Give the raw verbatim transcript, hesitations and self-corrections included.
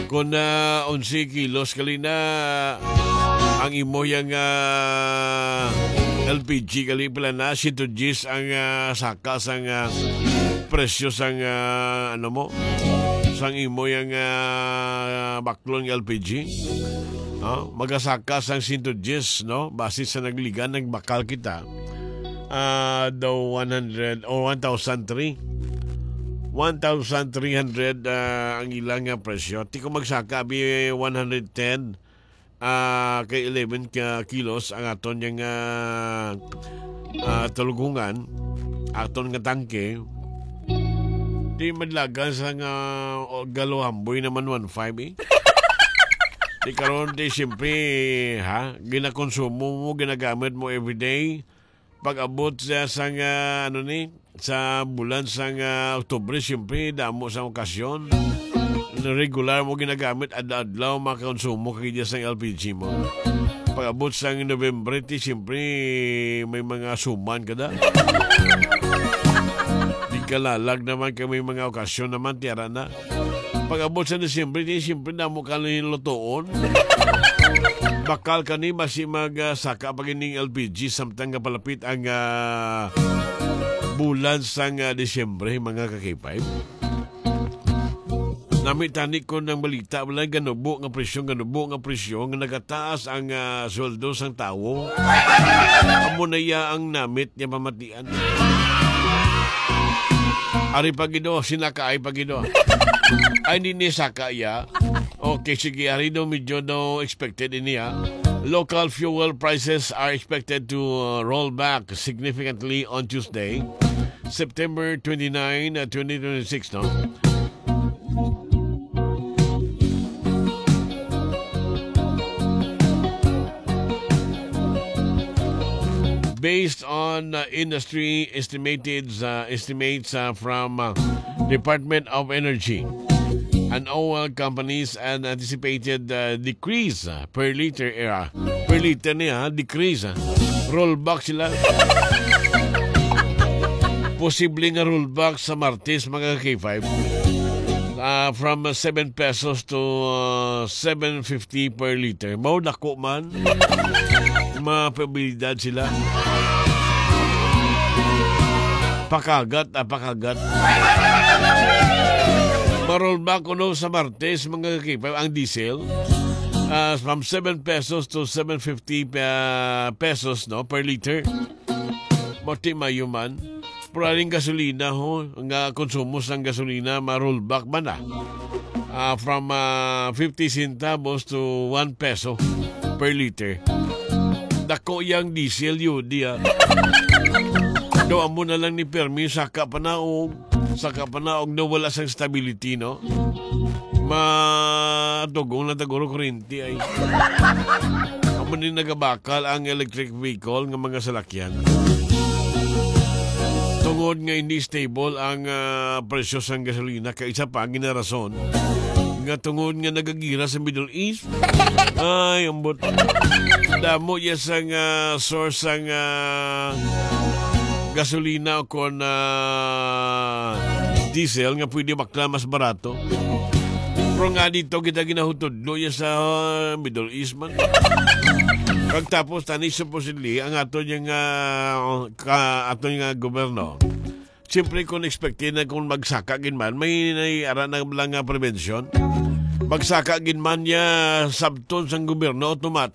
Kung, ah, onse kilos gali na ang imo yang, ah, L P G gali, pila na? Siyento diyes ang, ah, saka sang, ah, presyo sang, ah, ano mo? Sang imo yang, ah, baklon nga L P G. No? Magasaka sang siyento diyes, no? Base sa nagligan, nagbakal kita. Ah, daw one hundred or one thousand three. One thousand three hundred, ah, ang ilang nga presyo. Ti kung magsaka, bi one hundred ten, ah, kay eleven ka kilos ang aton yang, ah, ah, tulugungan, aton nga tangke. Di madlagan sa nga, o, galuhamboy naman one five, eh. Di karon, di siyempre, ha, ginakonsumo mo, ginagamit mo everyday. Pag-abot sa, sa nga, ano ni, sa bulan sa nga Oktubre, siyempre, damo sa okasyon. Regular mo ginagamit, adlaw-adlaw, makakonsumo ka gid sa L P G mo. Pag-abot sa November, ti, siyempre, may mga suman ka da. Di ka lalag naman kay may mga okasyon naman, tiara na. Pag-abot sa Disyembre, di, siyempre, damo ka na yung lutoon. Bakal ka ni, basi mag, ah, saka pa gining L P G, samtang nga palapit ang, ah, bulan sang, ah, Disyembre, mga ka-K five. Nami tani ko ng balita, wala, ganubo nga presyo, ganubo nga presyo, nga nagataas ang, ah, sweldo sang tawo. Amo na iya ang namit niya pamatian. Ari pa gid, oh, sinakaay pa gid, oh. Ay, hindi ni saka iya. Okay, sige, ari daw medyo daw expected ini, ha. Local fuel prices are expected to, uh, roll back significantly on Tuesday, September twenty-nine, uh, twenty twenty-six, no? Based on, uh, industry estimated, uh, estimates, uh, from, uh, Department of Energy and oil companies, an anticipated, uh, decrease, uh, per liter, uh, per liter niya, decrease, uh, rollback sila. Posible nga rollback sa Martes, mga K five. Ah, from seven pesos to, ah, seven fifty per liter. Mao, dako man. Mapabilidad sila. Pakagat, ah, pakagat. Ma-rollback kuno sa Martes, mga K five, ang diesel. Ah, from seven pesos to seven fifty, ah, pesos, no, per liter. Mati mayo man. Pero aning gasolina, ho, nga konsumo sang gasolina, ma-rollback man na. Ah, from, ah, fifty centavos to one peso per liter. Dako yang diesel yun, di, ah. Do, amo na lang ni permi, saka panaog, saka panaog na wala sang stability, no? Matugong na taguro kuryente ay. Amo ni nagabakal ang electric vehicle nga mga salakyan. Tungod nga hindi stable ang, ah, presyo sang gasolina, kay isa pa ang ginarason nga tungod nga nagagira sa Middle East. Ay, ambot. Damo ya sang, ah, source sang, ah, gasolina o kon, ah, diesel nga pwede bakla mas barato. Pero nga dito kita ginahutudlo ya sa, ah, Middle East man. Kag tapos tani supposedly ang aton yang, ah, ka, aton nga gobyerno. Siyempre, kung expected na kung magsaka gid man, may, may ara na lang nga prevention. Magsaka gid man ya sabton sang gobyerno, automatic.